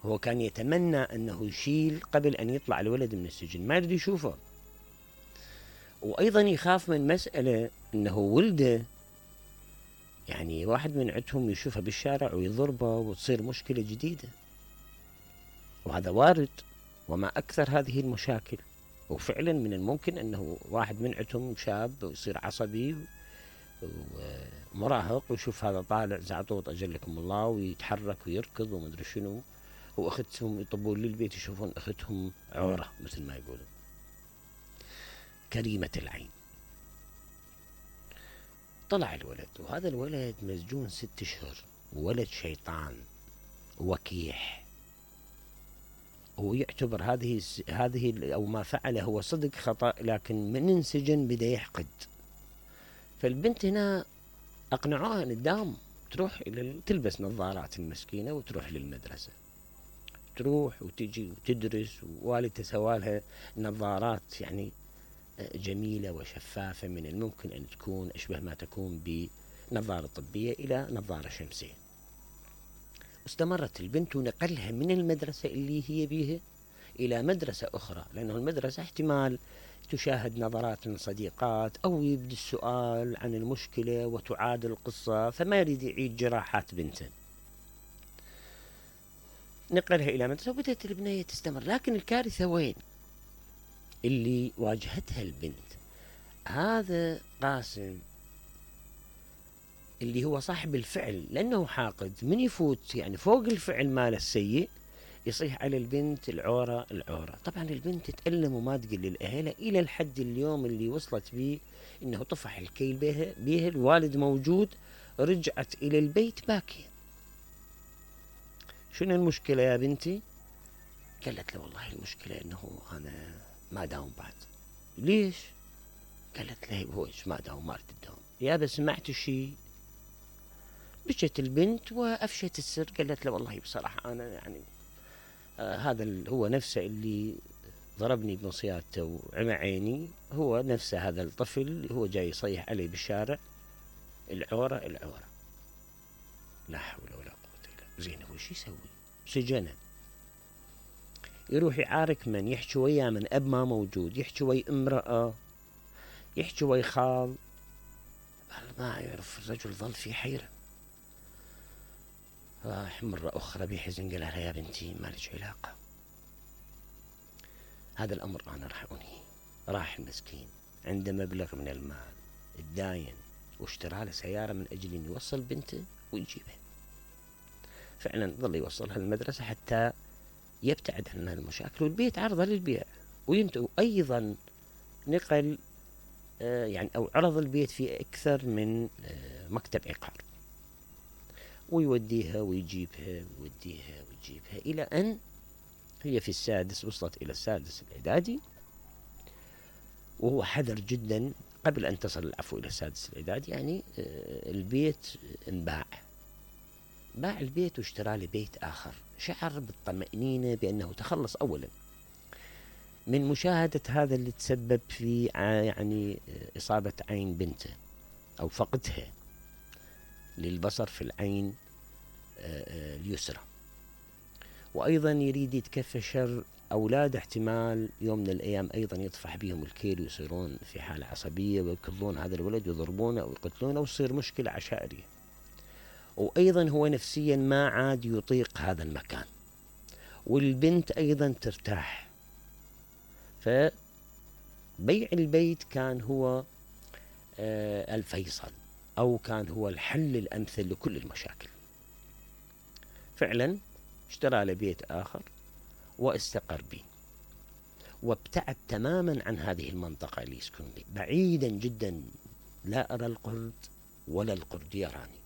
هو كان يتمنى أنه يشيل قبل أن يطلع الولد من السجن، ما يريد يشوفه. وأيضا يخاف من مسألة أنه ولده يعني واحد من عندهم يشوفه بالشارع ويضربه وتصير مشكلة جديدة، وهذا وارد. وما أكثر هذه المشاكل. وفعلا من الممكن أنه واحد من عندهم شاب ويصير عصبي ومراهق ويشوف هذا طالع زعطوط أجلكم الله ويتحرك ويركض ومدري شنو، وأختهم يطبون للبيت يشوفون أختهم عورة مثل ما يقولون. كريمة العين. طلع الولد، وهذا الولد مسجون 6 أشهر، ولد شيطان وكيح، ويعتبر هذه أو ما فعله هو صدق خطأ، لكن من انسجن بدأ يحقد. فالبنت هنا أقنعوها أن تداوم، تروح تلبس نظارات المسكينة وتروح للمدرسة، تروح وتجي وتدرس، ووالدتها سوالها نظارات يعني جميلة وشفافة، من الممكن أن تكون أشبه ما تكون بنظارة طبية إلى نظارة شمسية. استمرت البنت ونقلها من المدرسة اللي هي بيها إلى مدرسة أخرى، لأنه المدرسة احتمال تشاهد نظرات من صديقات أو يبدأ السؤال عن المشكلة وتعاد القصة، فما يريد يعيد جراحات بنته. نقلها إلى مدرسة وبدأت البنية تستمر. لكن الكارثة وين اللي واجهتها البنت؟ هذا قاسم اللي هو صاحب الفعل، لأنه حاقد، من يفوت يعني فوق الفعل ماله السيء يصيح على البنت العورة العورة. طبعا البنت تتألم وما تقل للأهل إلى الحد اليوم اللي وصلت به إنه طفح الكيل بها الوالد موجود، رجعت إلى البيت باكية. شنو المشكلة يا بنتي؟ قالت له والله المشكلة إنه أنا ما داوم بعد. ليش؟ قالت له هو إيش ما داوم؟ ما تداوم يا بس سمعت شيء. بكت البنت وأفشت السر، قالت له والله بصراحة أنا يعني هذا هو نفسه اللي ضربني بمصيادته وعمى عيني، هو نفسه هذا الطفل، هو جاي يصيح علي بالشارع العورة العورة. لا حول ولا قوة إلا بالله. زين هو شو يسوي؟ سجنه، يروح يعارك من؟ يحكي وياه من أب ما موجود، يحكي ويا امرأة، يحكي ويا خال، ما يعرف. الرجل ظل في حيرة. راح مرة أخرى بحزن قال لها يا بنتي ما لك علاقة، هذا الأمر أنا راح أنهيه. راح المسكين عنده مبلغ من المال الداين واشترى له سيارة من أجل أن يوصل بنته ويجيبها. فعلا ظل يوصلها المدرسة حتى يبتعد عن المشاكل، والبيت عرضه للبيع. وأيضا نقل يعني أو عرض البيت في أكثر من مكتب عقار، ويوديها ويجيبها ويوديها ويجيبها إلى أن هي في السادس، وصلت إلى السادس الإعدادي، وهو حذر جدا قبل أن تصل العفو إلى السادس الإعدادي. يعني البيت انباع، باع البيت واشترى له بيت آخر. شعر بالطمأنينة بأنه تخلص أولا من مشاهدة هذا اللي تسبب في يعني إصابة عين بنته أو فقدها للبصر في العين اليسرى. وأيضا يريد يتكفى شر أولاد، احتمال يوم من الأيام أيضا يطفح بهم الكيل ويصيرون في حالة عصبية ويكضون هذا الولد ويضربونه ويقتلونه ويصير مشكلة عشائرية. وأيضا هو نفسيا ما عاد يطيق هذا المكان، والبنت أيضا ترتاح. فبيع البيت كان هو الفيصل، أو كان هو الحل الأمثل لكل المشاكل. فعلا اشترى له بيت آخر واستقر به، وابتعد تماما عن هذه المنطقة اللي يسكن به، بعيدا جدا. لا أرى القرد ولا القرد يراني.